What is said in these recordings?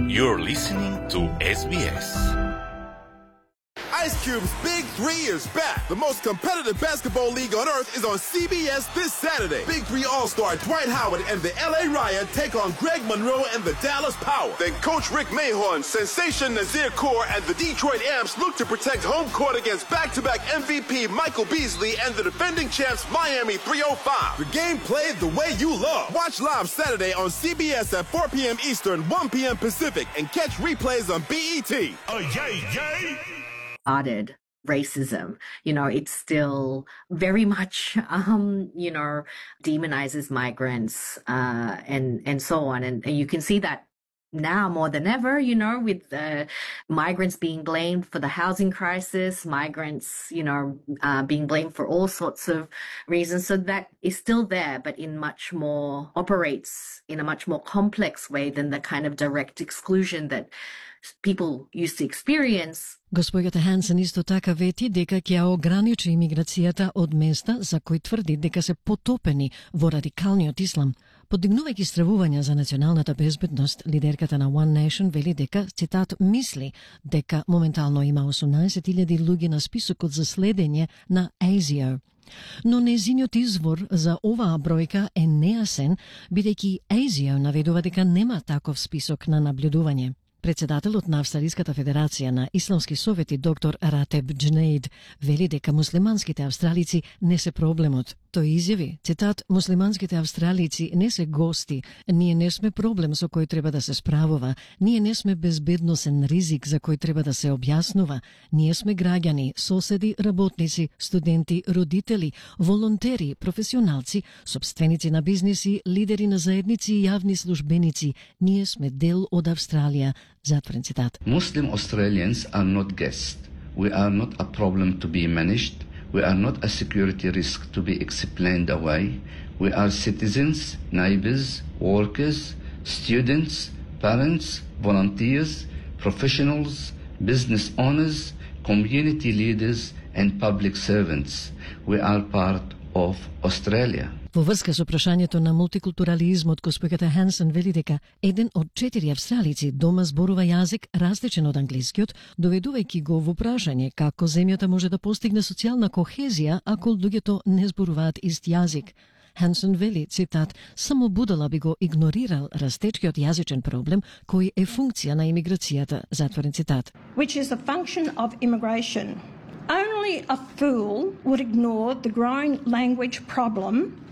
You're listening to SBS. Ice Cube's Big 3 is back. The most competitive basketball league on earth is on CBS this Saturday. Big 3 All-Star Dwight Howard and the LA Riot take on Greg Monroe and the Dallas Power. Then Coach Rick Mahorn, Sensation Nazir Kaur, and the Detroit Amps look to protect home court against back-to-back MVP Michael Beasley and the defending champs Miami 305. The game played the way you love. Watch live Saturday on CBS at 4 p.m. Eastern, 1 p.m. Pacific, and catch replays on BET. Oh, yay, yay! Started racism, it still very much, demonizes migrants, and so on. And you can see that now more than ever, with migrants being blamed for the housing crisis, migrants, being blamed for all sorts of reasons. So that is still there, but operates in a much more complex way than the kind of direct exclusion that people used to experience. Госпоѓата Хансен исто така вети дека ќе ограничи имиграцијата од места за кои тврди дека се потопени во радикалниот ислам. Подигнувајќи стравувања за националната безбедност, лидерката на One Nation вели дека, цитат, мисли дека моментално има 18,000 луѓе на списокот за следење на ASIO. Но незиниот извор за оваа бројка е нејасен, бидејќи ASIO наведува дека нема таков список на наблюдување. Председателот на Австралиската федерација на исламски совети доктор Ратеб Джнейд вели дека муслиманските австралици не се проблемот. Тој изјави, цитат, муслиманските австралици не се гости, ние не сме проблем со кој треба да се справува, ние не сме безбедносен ризик за кој треба да се објаснува, ние сме граѓани, соседи, работници, студенти, родители, волонтери, професионалци, сопственици на бизниси, лидери на заедници и јавни службеници, ние сме дел од Австралија. Затворен цитат. Muslim Australians are not guests. We are not a problem to be managed. We are not a security risk to be explained away. We are citizens, neighbors, workers, students, parents, volunteers, professionals, business owners, community leaders and public servants. We are part of Australia. Во врска со прашањето на мултикултурализмот, госпоѓата Хансен вели дека 1 од 4 австралици дома зборува јазик различен од англискиот, доведувајќи го во прашање како земјата може да постигне социјална кохезија ако луѓето не зборуваат ист јазик. Хансен вели, цитат, само будала би го игнорирал растечкиот јазичен проблем кој е функција на имиграцијата, затворен цитат. Which is a function of immigration. Only a fool would ignore the growing language problem,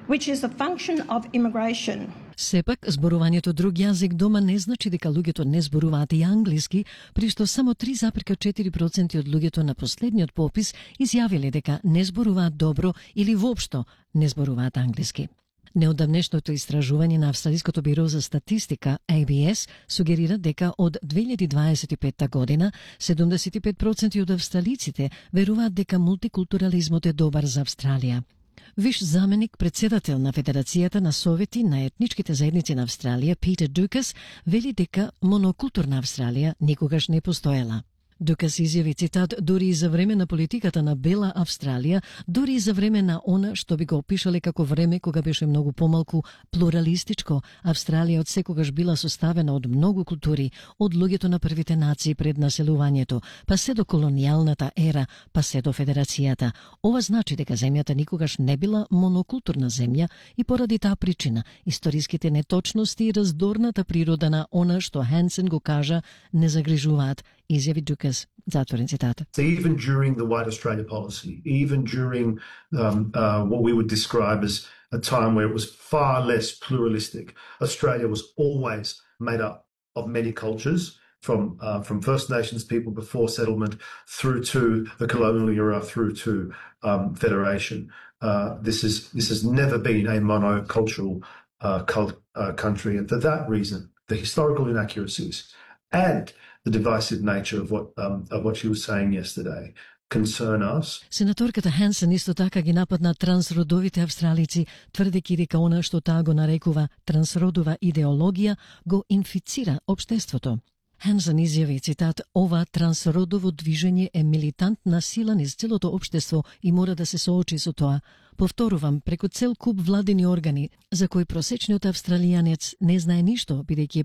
which is a function of immigration. Сепак, зборувањето друг јазик дома не значи дека луѓето не зборуваат и англиски, при што само 3,4% од луѓето на последниот попис изјавиле дека не зборуваат добро или воопшто не зборуваат англиски. Неодамнешното истражување на Австралиското биро за статистика, ABS, сугерира дека од 2025 година 75% од австралиците веруваат дека мултикултурализмот е добар за Австралија. Виш заменик председател на Федерацијата на совети на етничките заедници на Австралија, Питер Дукас, вели дека монокултурна Австралија никогаш не постоела. Дукас изјави, цитат, дури и за време на политиката на Бела Австралија, дури и за време на она што би го опишале како време кога беше многу помалку плуралистичко, Австралија од секогаш била составена од многу култури, од луѓето на првите нации пред населувањето, па се до колонијалната ера, па се до Федерацијата. Ова значи дека земјата никогаш не била монокултурна земја и поради таа причина историските неточности и раздорната природа на она што Хансен го кажа не загрижуваат, изјави Дукас, затворен цитат. So even during the White Australia policy, even during what we would describe as a time where it was far less pluralistic, Australia was always made up of many cultures, from First Nations people before settlement through to the colonial era, through to federation. This has never been a monocultural country, and for that reason, the historical inaccuracies and the divisive nature of what she was saying yesterday concern us. Сенаторката Хансен исто така ги нападна трансродовите австралици, тврдејќи дека она што таа го нарекува трансродова идеологија го инфицира општеството. Хансен изјави, цитат, ова трансродово движење е милитантна сила низ целото општество и мора да се соочи со тоа. Повторувам, преку цел куп владени органи, за кои просечниот австралијанец не знае ништо, бидејќи